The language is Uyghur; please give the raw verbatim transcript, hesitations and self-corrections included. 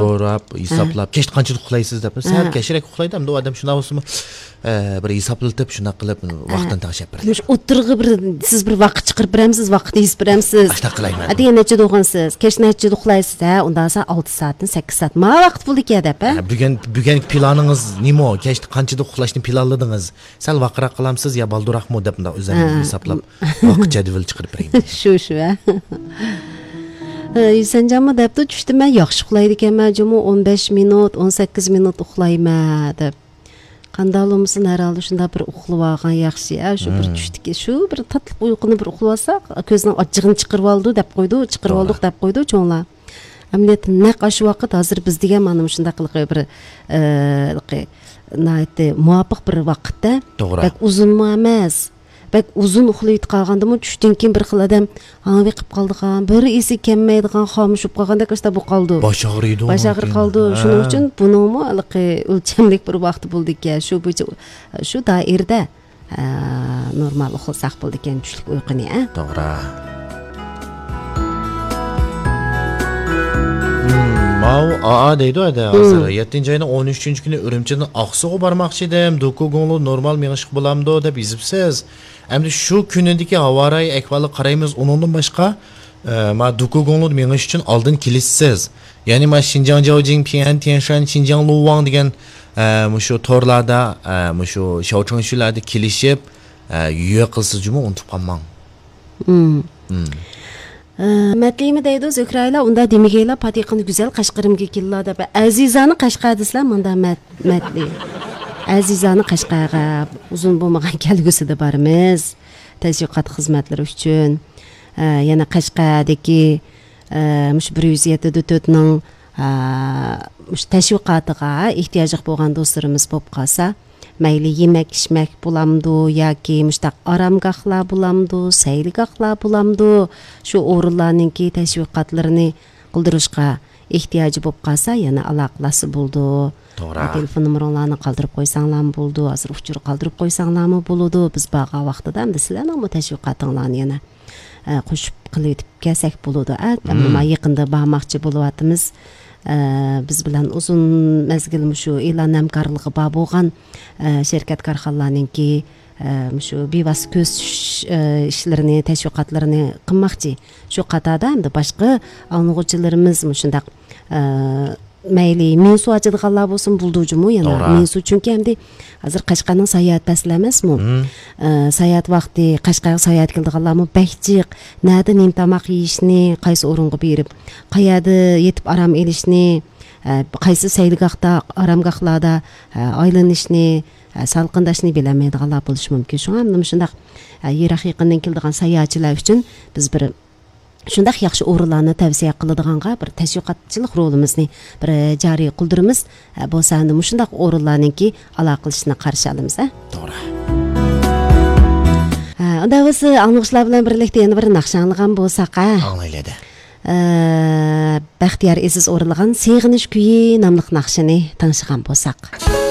سوراپ، ھە، ھېسابلاپ، كەچتە قانچىلىق ئۇخلايسىز دەپ، سەل، ھە، كەچرەك ئۇخلايدۇ، ئەمدى ئۇ ئادەم شۇنداق بولسىمۇ، ئە، بىر ھېسابلىتىپ، شۇنداق قىلىپ، ھە، ۋاقتىنى تەڭشەپ بېرەيلى. مۇشۇ ئوتتۇرىغا بىر، سىز بىر ۋاقىت چىقىرىپ بېرەمسىز، ۋاقىت يېزىپ بېرەمسىز؟ ئاشۇنداق قىلايمەن. ئەتىگەن نەچچىدە ئۇخلىسىز، كەچ نەچچىدە ئۇخلايسىز، ھە، ئۇنداق بولسا ئالتە سائەتتىن سەككىز سائەت. ماۋۇ ۋاقىت بولىدىكەن دەپ، ھە؟ ھە، بۈگۈن، بۈگۈنكى پىلانىڭىز نېمە؟ كەچتە قانچىدا ئۇخلاشنى پىلانلىدىڭىز؟ سەل ۋاقراق قىلامسىز يا بالدۇراقمۇ دەپ مۇنداق ئۆزۈمدىن، ھە، ھېسابلاپ، ۋاقىت جەدۋىلى چىقىرىپ بېرەيمەن. شۇ، شۇ، ھە. ھە، ھۈسەنجانمۇ دەپتۇ، چۈشتە مەن ياخشى ئۇخلايدىكەنمەن جۇمۇ، ئون بەش مىنۇت، ئون سەككىز مىنۇت ئۇخلايمەن دەپ. قانداق بولمىسۇن، ھەر ھالدا شۇنداق بىر ئۇخلىۋالغان ياخشى، ھە، شۇ بىر، مم، چۈشتىكى شۇ بىر تاتلىق ئۇيقۇنى بىر ئۇخلىۋالساق، كۆزنىڭ ئاچچىقىنى چىقىرىۋالىدۇ دەپ قويىدۇ، چىقىرىۋالدۇق، توغرا، دەپ قويىدۇ چوڭلار. ئەمەلىيەتتە نەق ئاشۇ ۋاقىت، ھازىر بىز دېگەن مانا مۇشۇنداق قىلىقى بىر، ئە، ناھايىتى مۇۋاپىق بىر ۋاقىتتا. توغرا. بەك ئۇزۇنمۇ ئەمەس. بەك ئۇزۇن ئۇخلىۋېتىپ قالغاندىمۇ چۈشتىن كېيىن بىر خىل ئادەم ھاڭۋېقىپ قالىدىغان، بىر ئېسى كەلمەيدىغان، خامۇش بولۇپ قالغاندەك ئاشۇنداق بولۇپ قالىدۇ. باش ئاغرىيدۇ باش ئاغرىپ قالىدۇ. ھە. شۇنىڭ ئۈچۈن بۇنىڭمۇ ھېلىقى ئۆلچەملىك بىر ۋاقتى بولىدىكەن. شۇ بويىچە، شۇ دائىرىدە، ئە، نورمال ئۇخلىساق بولىدىكەن چۈشلۈك ئۇيقۇنى، ئە. توغرا. مم، ماۋۇ ئا ئا دەيدۇ ھەدە، ھازىر. مم. يەتتىنچى ئاينىڭ ئون ئۈچىنچى كۈنى ئۈرۈمچىدىن ئاقسۇغا بارماقچى ئىدىم. دوكۇگۇڭلۇ نورمال مېڭىشقا بولامدۇ دەپ يېزىپسىز. ئەمدى شۇ كۈنىدىكى ھاۋا رايى ئەھۋالىغا قارايمىز. ئۇنىڭدىن باشقا، ئە، ما دوكۇگۇڭلۇ مېڭىش ئۈچۈن ئالدىن كېلىشسىز. يەنى ما شىنجاڭ جاۋجىڭ، پيەن تيەنشان، شىنجاڭ لۇۋاڭ دېگەن، ئە، مۇشۇ تورلاردا، ئە، مۇشۇ شياۋچېڭشۈلەردە كېلىشىپ، ئە، يۈە قىلسىز جۇمۇ، ئۇنتۇپ قالماڭ. مم. مم. ئە، مەتلىيمۇ دەيدۇ، زۆھرەيلا، ئۇندا دېمىگەيلا، پاتىقىنى گۈزەل قەشقىرىمگە كېلىلا دەپ. ئەزىزانى قەشقەر دېسىلە، مۇندا مەت-، مەتلى. ئەزىزانى قەشقەرگە ئۇزۇن بولمىغان كەلگۈسىدە بارىمىز. تەشۋىقات خىزمەتلىرى ئۈچۈن. ئە، يەنە قەشقەردىكى، ئە، مۇشۇ بىر يۈز يەتتە دۆتۆتنىڭ، ئە، مۇشۇ تەشۋىقاتىغا ئېھتىياجلىق بولغان دوستلىرىمىز بولۇپ قالسا، مەيلى يېمەك-ئىچمەك بولامدۇ ياكى مۇشۇنداق ئارامگاھلار بولامدۇ، سەيلىگاھلار بولامدۇ، شۇ ئورۇنلارنىڭكى تەشۋىقاتلىرىنى قىلدۇرۇشقا ئېھتىياجى بولۇپ قالسا، يەنە ئالاقىلاشسا بولىدۇ. توغرا. تېلېفون نومۇرۇڭلارنى قالدۇرۇپ قويساڭلارمۇ بولىدۇ، ھازىر ئۇچۇر قالدۇرۇپ قويساڭلارمۇ بولىدۇ. بىز بارغان ۋاقتىدا ئەمدى سىلەرنىڭمۇ تەشۋىقاتىڭلارنى يەنە، ئە، قوشۇپ قىلىۋېتىپ كەلسەك بولىدۇ. ئە، مم. ئەمما يېقىندا بارماقچى بولۇۋاتىمىز. ئە، بىز بىلەن ئۇزۇن مەزگىل مۇشۇ ئېلان ھەمكارلىقى بار بولغان، ئە، شىركەت كارخانىلارنىڭكى، ئە، مۇشۇ بىۋاسىتە كۆرسىتىش، ئە، ئىشلىرىنى، تەشۋىقاتلىرىنى قىلماقچى. شۇ قاتاردا ئەمدى باشقا ئاڭلىغۇچىلىرىمىز مۇشۇنداق، ئە، مەيلى مىنسۇ ئاچىدىغانلار بولسۇن بولىدۇ جۇمۇ يەنە. توغرا. مىنسۇ، چۈنكى ئەمدى ھازىر قەشقەرنىڭ ساياھەت پەسلى ئەمەسمۇ؟ مم. ئە، ساياھەت ۋاقتى، قەشقەرگە ساياھەتكە كېلىدىغانلارمۇ بەك جىق. نەدە نېمە تاماق يېيىشنى، قايسى ئورۇنغا بېرىپ، قەيەردە يېتىپ ئارام ئېلىشنى، ئە، قايسى سەيلىگاھتا، ئارامگاھلاردا، ئە، ئايلىنىشنى، ئە، سالقىنداشنى بىلەلمەيدىغانلار بولۇشى مۇمكىن. شۇڭا مۇشۇنداق، ئە، يىراق يېقىندىن كېلىدىغان ساياھەتچىلەر ئۈچۈن بىز بىر شۇنداق ياخشى ئورۇنلارنى تەۋسىيە قىلىدىغانغا بىر تەشۋىقاتچىلىق رولىمىزنى بىر جارى قىلدۇرىمىز. ئە، بولسا ئەمدى مۇشۇنداق ئورۇنلارنىڭكى ئالاقىلىشىشىنى قارشى ئالىمىز، ھە؟ توغرا. ھە، ئۇنداق بولسا ئاڭلىغۇچىلار بىلەن بىرلىكتە يەنە بىر ناخشا ئاڭلىغان بولساق، ھە؟ ئاڭلايلى ھەدە. ئە، بەختىيار ئېزىز ئورۇنلىغان سېغىنىش كۈيى ناملىق ناخشىنى تىڭشىغان بولساق.